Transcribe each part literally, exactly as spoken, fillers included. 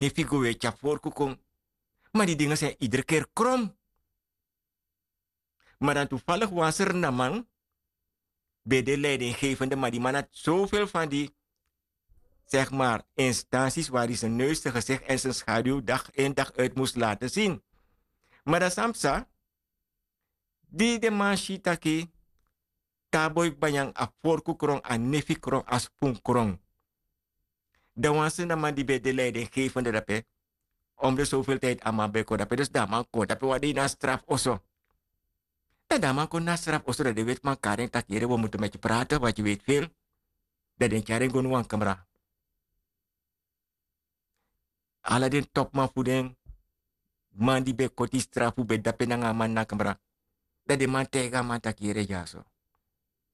nefi go weti a forku kon. Ma di dingi sen idri keri krom. Ma dan tufaligi wan srnaman ben de leidingeifende ma di man na sofel fan di, segmar, instansis wari sen neus sen gesegi èn sen schaduw dagi in dagi uiti mus lati sin. Ma dan san psa? Di den man si taki te a boi kba nyan a forku kron a nefi kron a spun kron. Dan wan srnaman di ben de leidingeifende dape, omde sofel tidi a man ben kon dape dus dan a man kon dape wan dei na a strafu oso. Dan dan a man kon na a strafu oso dan den wetiman kari en taki yere wi o mutu meki prate wati weti fil. Dan den tyari en go na wan kamra. Ala den topuman fu den man di ben koti strafu ben dape nanga a man na kamra. Dan den man taigi a man taki yere dyaso,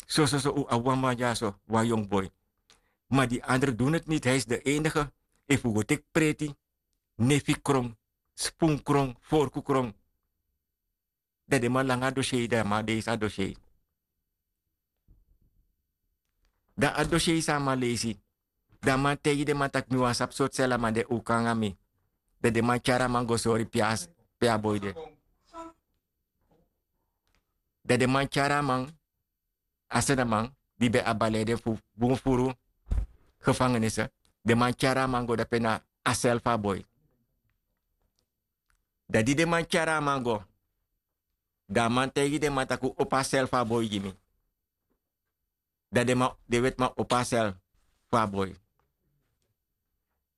sososo un abi wan man dyaso, wan yongu boi. Ma di andre du neti niti a isi de enige, efu un go teki preti, nefi kron, spun kron, forku kron. Dan den man langa a dosiyei dan a man leisi a dosiyei. Dan a dosiyei san a man leisi, dan a man taigi den man tak' mi wani sabi sortu seli a man de un kon nanga mi. Dan den man tyari a man go sori pe a boi de. Dan den man tyari a man, a srnaman di ben abi a leiden fu bun furu gefangenisi, den man tyari a man go dape na a seli fu a boi. Dan di den man tyari a man go, dan a man taigi den man tak' un opo a seli fu a boi gi mi. Dan den wetiman opo a seli fu a boi.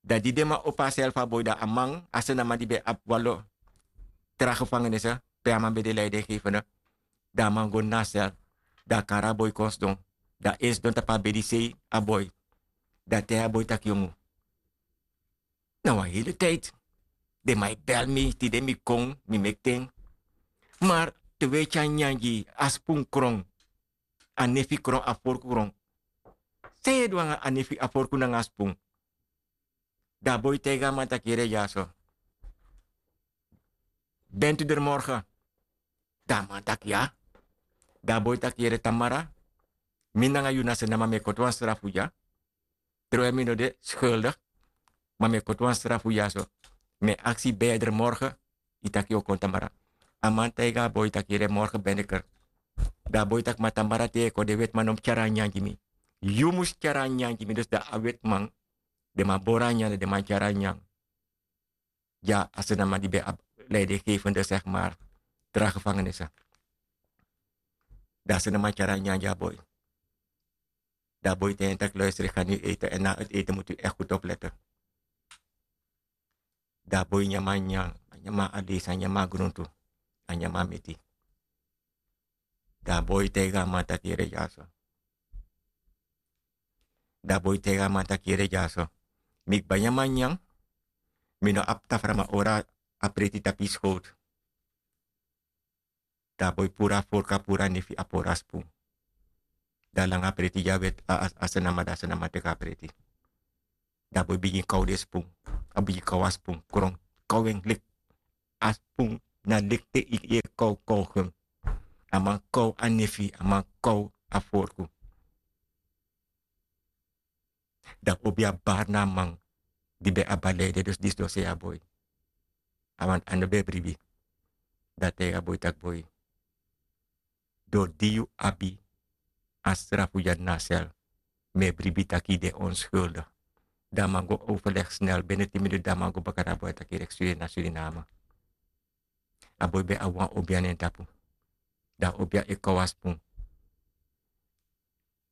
Dan di den man opo a seli fu a boi dan a man a srnaman di ben abi wan lo tra gefangenisi, pe a man ben de leidingeifende. Dan a man go na a seli. Dan a kari a boi kon sidon. Dan en sidon tapu a bedi sei a boi. Dan a taigi a boi tak' yongu, na wan heli tidi den man e beli mi tide mi kon, mi meki ten. Mar te wi e tyari nyanyan gi yu, a spun kron, a nefi kron, a forku kron. San yu e du nanga a nefi, a forku nanga a spun? Dan a boi taigi a man tak' yere dyaso, ben tu deri morge? Dan a man taki ya. Dan a boi taki yere tamara, mi nanga yu na srnaman mi e koti wan strafu dya. Trowe mi no de skuldi, ma mi e koti wan strafu dya so. Mi e aksi ben yu e dri morge? Yu taki yu o kon tamara. A man taigi a boi taki yere morge ben de kri. Dan a boi taki ma tamara te yu e kon den wetiman no mus tyari a nyanyan gi mi. Yu mus tyari a nyanyan gi mi dus dan a wetiman, den man bori a nyanyan dan den man tyari a nyanyan. Dya a srnaman di ben abi leidingeifende segmar, tra gefangenisi. Dan a srnaman tyari a nyanyan gi a boi. Dan a boi ten en taki loistri ga nu yu eite èn na a uti eite mutu yu ekti gudu oplete. Dan a boi nyan man nyan, a nyan man a leisi a nyan man a gruntu, a nyan man a meti. Dan a boi taigi a man taki yere dyaso. Dan a boi taigi a man taki yere dyaso, mi kba nyan man nyan. Mi no abi tafra ma ora a preti tapu yu skowtu. Dan a boi puru a forku a puru a nefi a puru a spun. Dan a langa a preti gi a weti a srnaman dan a srnaman teki a preti. Dan a boi bigin kaw den spun. A bigin kaw a spun kron, kaw en leki a spun. Na leki te yu e kaw kaw gen. A man kaw a nefi, a man kaw a forku. Dan obi a bari na a man di ben abi a leide dus disi don sei a boi. A man a no ben e bribi. Dan a taigi a boi taki boi, dori di yu abi a strafu dya na a sel, mi e bribi taki yu de onskuldi. Dan a man go overlegi snel bene tin minutu dan a man go baka na a boi a taki yu reksturi na suriname. A boi ben abi wan obia na en tapu. Dan a obia e kon wan spun.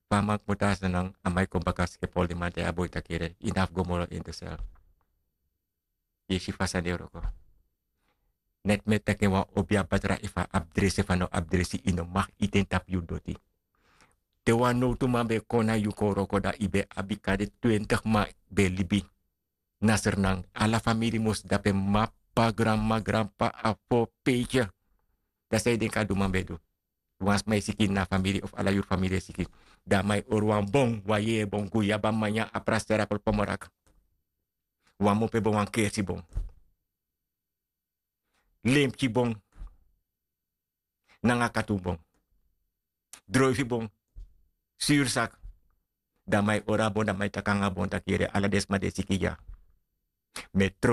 Fa a man kmoto a sani nan a man e kon baka skepoli den man taigi a boi taki yu no abi go moro ini de sel. Yu e si fa sani e wroko. Neti mi e taki en wan obia batra efu a abi dresi efu a no abi dresi yu no maki iti en tapu yu doti. Te wan nowtu man ben kon na yu kon wroko dan yu ben abi kade twentigi man ben libi. Na sernan ala famiri mus dape, mama, p'pa, granmama, granp'pa, a fo, peitye. Dan san yu denki a du man ben du? Wan sma e siki ini na a famiri of ala yuru famiri e siki. Dan a man e hori wan bon, wan yeye bon, guyaba, manya, apra, sera, polopo, morak. Wan mope bon, wan kersi bon. Lemki bon. Nanga katun bon, droifi bon, suri saki. Dan a man e hori a bon dan a man e taki nanga a bon taki yere ala den sma di e siki dya. Mi e